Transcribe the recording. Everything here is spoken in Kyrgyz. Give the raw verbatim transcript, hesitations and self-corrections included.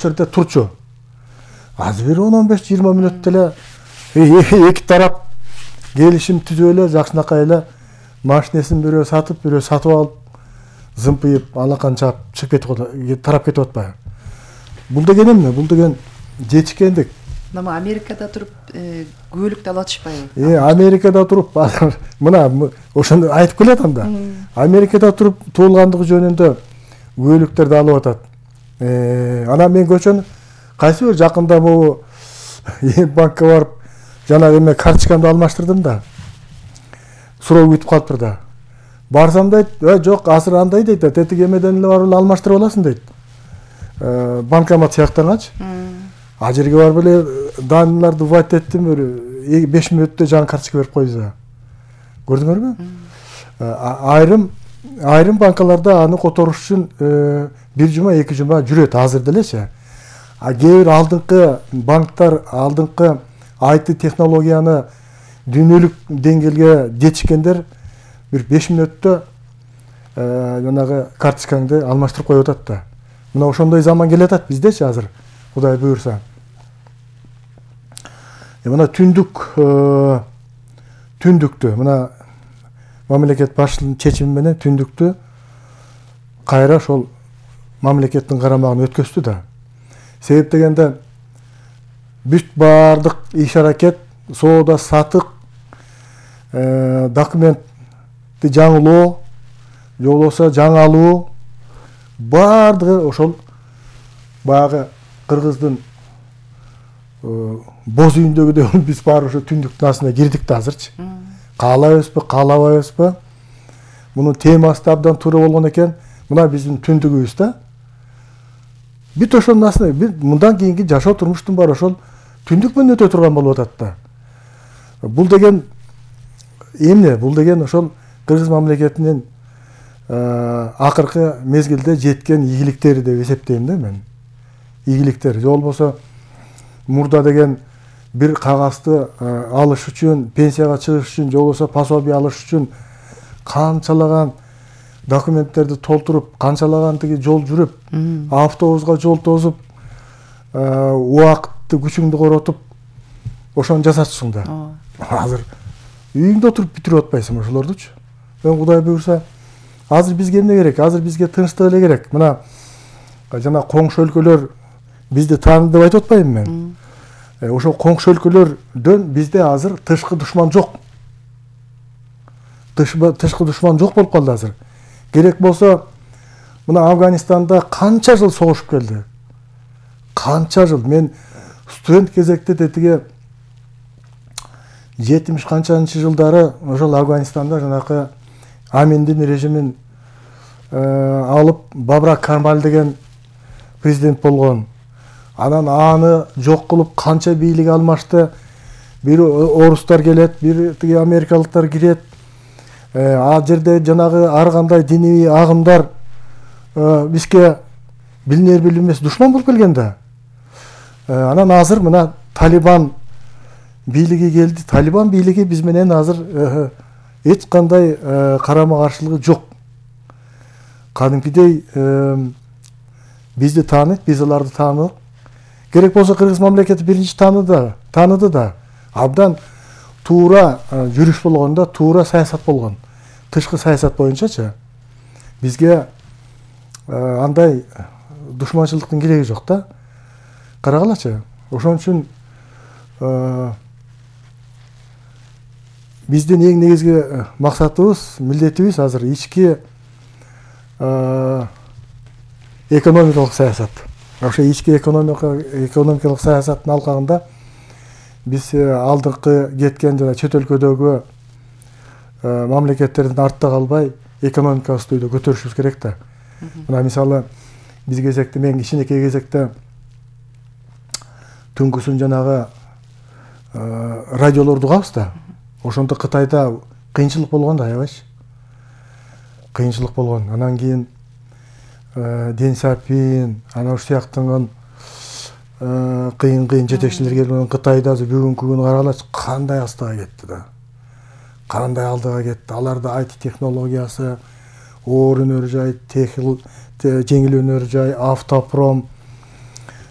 ошол жерде турчу. Азыр бир он он беш жыйырма мүнөттө эле эки тарап келишим түзүп эле жакшынакай эле машинесин бирөө сатып, бирөө сатып алып, зымпыйып, алаканча чыгып кетип тарап кетип атпайбы? Бул деген эмне? Бул деген жетишкендик. Мына Америкада туруп көөлүктү ала атышпайбы? Э, Америкада туруп мына ошону айтып келатам да. Америкада туруп туулгандыгы жөнүндө көөлүктөрдү алып атат. Э, анан мен көчөнү кайсы бир жакында могу банкка барып, жанагы эме карточкамды алмаштырдым да. Суроо күтүп калыптыр да. Барсам дейт, "Э, жок, азыр андай" дейт, "Тетиги эмеден эле барып алмаштырып аласың" дейт. Э, банкомат сыяктангачы. А жерге барып эле данныйларды вводить эттим, бир беш мүнөттө жаңы карточка берип койду. Көрдүңөрбү? Айрым айрым банкаларда аны которуш үчүн бир жума, эки жума жүрөт азыр делечи. А кээ бир алдыңкы банктар, алдыңкы ай ти технологияны дүйнөлүк деңгээлге жетишкендер бир беш мүнөттө жанагы карточкаңды алмаштырып коюп атат да. Мына ошондой заман келатат биздечи азыр, Кудай буйрса. Мына түндүк түндүктү, мына мамлекет башчысынын чечими менен түндүктү кайра ошол мамлекеттин карамагына өткөздү да. Себеп дегенде бүт баардык иш-аракет, соода сатык, документти жаңылоо, же болбосо жаңы алуу баардыгы ошол баягы кыргыздын боз үйүндөгүдөй биз баары ошо түндүктүн астына кирдик да азырчы. Каалайбызбы, каалабайбызбы? Мунун темасы да абдан туура болгон экен. Мына биздин түндүгүбүз да. Бүт ошонун астына мындан кийинки жашоо турмуштун баары ошол түндүк менен өтө турган болуп атат да. Бул деген эмне? Бул деген ошол кыргыз мамлекетинин акыркы мезгилде жеткен ийгиликтери деп эсептейм да мен. Ийгиликтер. Же болбосо мурда деген бир кагазды алыш үчүн, пенсияга чыгыш үчүн, же болбосо пособие алыш үчүн канчалаган документтерди толтуруп, канчалаган тиги жол жүрүп, автобуска жол тосуп, убакытты күчүңдү коротуп, ошону жасатчысың да. Азыр үйүңдө отуруп бүтүрүп атпайсың ошолордучу. Мен Кудай буйрса, азыр бизге эмне керек? Азыр бизге тынчтык эле керек. Мына жана коңшу өлкөлөр бизди тааныды деп айтып атпайбынбы мен? Ошол коңшу өлкөлөрдөн бизде азыр тышкы душман жок. Тышкы душман жок болуп калды азыр. Керек болсо, мына Афганистанда канча жыл согушуп келди. Канча жыл. Мен студент кезекте тетиги жетимиш канчанчы жылдары ошол Афганистанда жанакы Аминдин режимин алып Бабрак Кармаль деген президент болгон. Анан аны жок кылып канча бийлик алмашты. Бир орустар келет, бир тиги америкалыктар кирет. А жерде жанагы ар кандай диний агымдар бизге билинер билинбес душман болуп келген да. Анан азыр мына Талибан бийлиги келди. Талибан бийлиги биз менен азыр эч кандай карама-каршылыгы жок. Кадимкидей бизди тааныйт, биз аларды таанылык. Керек болсо кыргыз мамлекети биринчи тааныды, тааныды да. Абдан туура жүрүш болгон да, туура саясат болгон. Тышкы саясат боюнчачы. Бизге андай душманчылыктын кереги жок да. Карагалачы. Ошон үчүн биздин эң негизги максатыбыз, милдетибиз азыр ички экономикалык саясат. Ошо ички экономикалык саясаттын алкагында биз алдыңкы кеткен жана чет өлкөдөгү мамлекеттердин артта калбай экономикабызды өйдө көтөрүшүбүз керек да. Мына мисалы биз кезекте, мен кичинекей кезекте түнкүсүн жанагы радиолорду угабыз да. Ошондо Кытайда кыйынчылык болгон да, аябайчы. Кыйынчылык болгон. Анан кийин Дэн Сяопин, ana ушул сыяктанган кыйын-кыйын жетекчилер келген Кытайда бүгүнкү күнү каралачы кандай астыга кетти да. Кандай алдыга кетти. Аларда ай ти технологиясы, оор өнөр жай, жеңил өнөр жай, автопром,